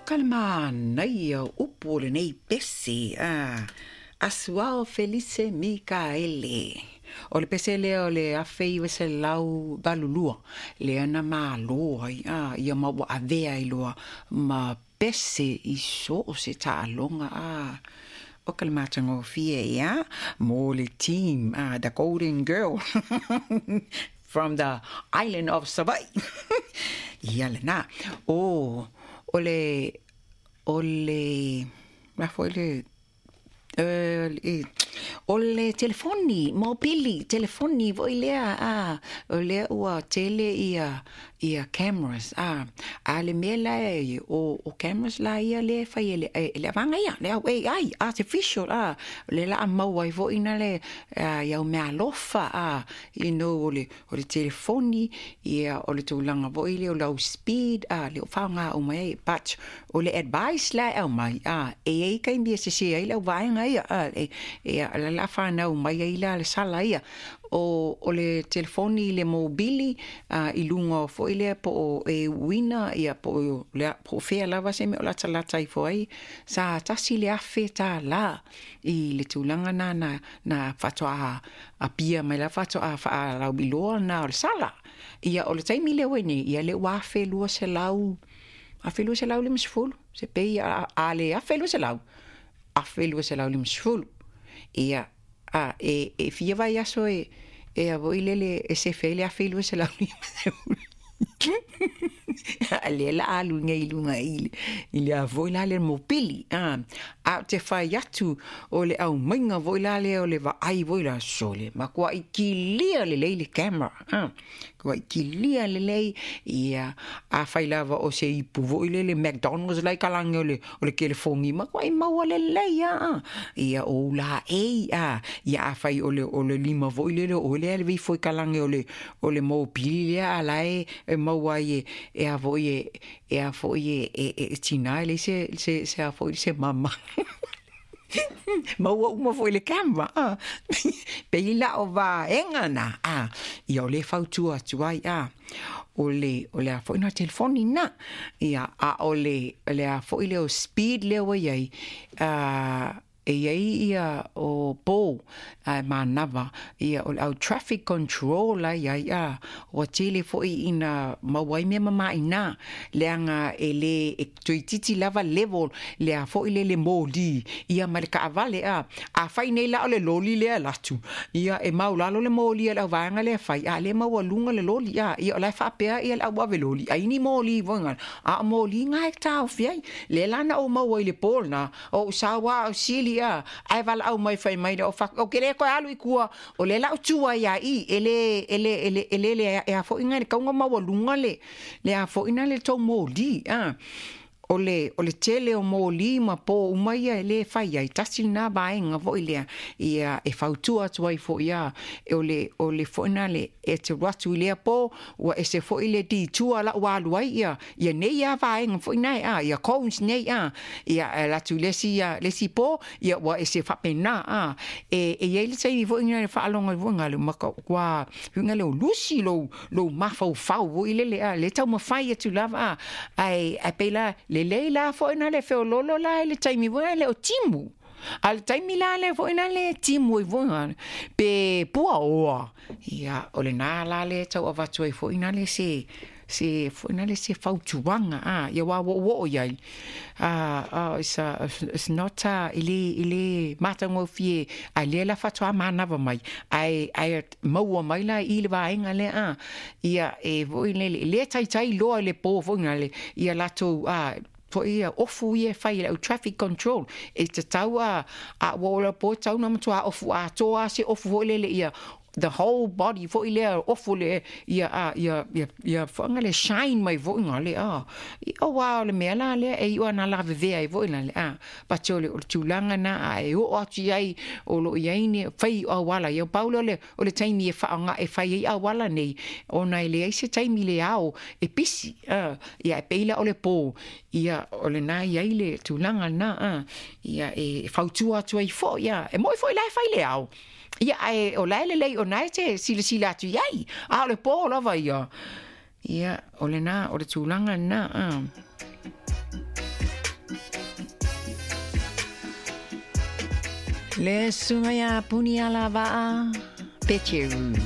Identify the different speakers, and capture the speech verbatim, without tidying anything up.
Speaker 1: ka le manaia o upu o lenei pese, a Asuao Felice Mikaele. O le pese lea o le afe iva selau valu lua, lea na malo ai, a ia ma ua avea ai loa ma pese i so o se taaloga, a o ka le matagofie, ia, mo le team, a the Golden Girl from the island of Savaii. Ia lena. O, o le, o le, ma foi le, e, o le telefoni, mobili, telefoni foi lea, a, o lea ua tele ia, ia cameras, a, a le mea la e, o, o cameras la ia le fai e le, e, le avanga ia, le au A I, artificial, a, le la a maua ai foi na le, a, ia o mea alofa, a, you know, o le, o le telefoni, ia, o le tulaga foi lea o lau speed, a, le o faaaoga uma ai, but o le advice la e aumai, a, e iai taimi e sese ai lau vaega ia, a, e, e, a, la la whanau mai ai la le sala ia. O, o le telefoni le mobili, a, i lunga o foi lea po o e uina, ia po o lea, po o fea lava se mea o lata lata i foi, sa tasi le afe tā la i le tulaga na, na, na whatoa a pia mai la whatoa wha lau iloa na o le sala. Ia o le taimi lea ua nei, ia le ua afe lua selau, afe lua selau lima sefulu, se pei a, a le afe lua selau, afe lua selau lima sefulu. Ia, a, e, e fia vai aso e, e a voi lele e se fele a felu se la lima sefulu. A le la alu ngai lunga i le, i le a voi la le mopili, a, a te whai atu o le au mainga voi la le o le vaai voi la sole, ma kua i kilia le lei le camera, a, kua i kilia le lei, ia, a whai lava o se ipu voi le le McDonald's lai kalange o le, o le telefongi, ma kua i maua le lei, a, a, ia o la ei, a, ia a whai o le, o le lima voi le le, o le ale vei foi kalange o le, o le mopili le a la e, e maua ai e, e a foi e, e a foi e, e, e, e tina e le se, se, se a foi se mama. Maua uma foi le camera, ah. Pei la o vaega na, ah. Ia o le fautua atu ai, ah. O le, o le a foi na telefoni na. Ia, a o le, o le a foi le o speed lea ua iai, ah, e iai ia o pō, a manawa, ia o le au traffic control ai ai, a, ua tele foi ina maua ai mea mamaʻi leaga e lē e toeititi lava level le a foi le le moli ia ma le kaavale, a a fai nei la o le loli lea latu ia e maulalo le moli a le auvaega lea fai a le maualuga le loli, a ia o lae faapea ia le auave loli ai ni moli voiga a o moli ga e taofi ai le lana ou maua i le pō lena o ou saua o sili, a ai vala au mai fai mai o fa o kele ko alu i kua o le la tua ia i ele ele ele ele le e a fo inga le kaunga maualuga le le a fo ina le tou moli, a o le o le tele o moli ma pō uma ia e lē fai ai tasi lena vaega foi lea ia e fautua atu ai foi ia e o le o le foi na le e te atu i lea pō ua ese foi le ditua la'u alu ai ia ia nei a vaega foi nae a ia cones nei a ia e latu le isi ia le isi pō ia ua ese faapena a e e iai le taimi foi ina le faalogo ai foi gale ma ua huiga le o lusi lou lou mafaufau foi lele a le taumafai atu lava a ae ae pei la lelei la foi na le feololo la i le taimi foi le o timu. A le taimi la le foi na le timu i foi pe puaoa. Ia o le nā la le tau avatu ai foi na le se se foi na le se fautuaga a ia ua o'o'o iai. Ah, uh, it's, uh, it's not uh, i le i le matagofie a lea la faatoā manava mai ae ae maua mai la i le vaega lea a ia e foi le le taitai loa i le pō foi na le ia latou a foi ia ofu ia fai le au traffic control e tatau a a ua o le pō tau na matuā ofu atoa se ofu foi lele ia the whole body foi lea ofu le ia a ia ia ia whanga le shine mai foi ngā le a i o wā o le mea la lea e iua na lavevea ai foi na le a pati o le o le tulaga na a e oo atu iai o loo iai ni fai auala ia pau lea o le o le taimi e faaaoga e fai ai auala nei ona e leai se taimi le ao e pisi a ia e pei la o le pō ia o lenā iai le tulaga lenā a ia e fautua atu ai foi ia e moʻi foi la e fai le ao ia ae o lae lelei ona e te silasila atu iai a o le pō lava ia ia o lenā o le tulaga lenā a. Le susuga ia Punialavaa Peteru.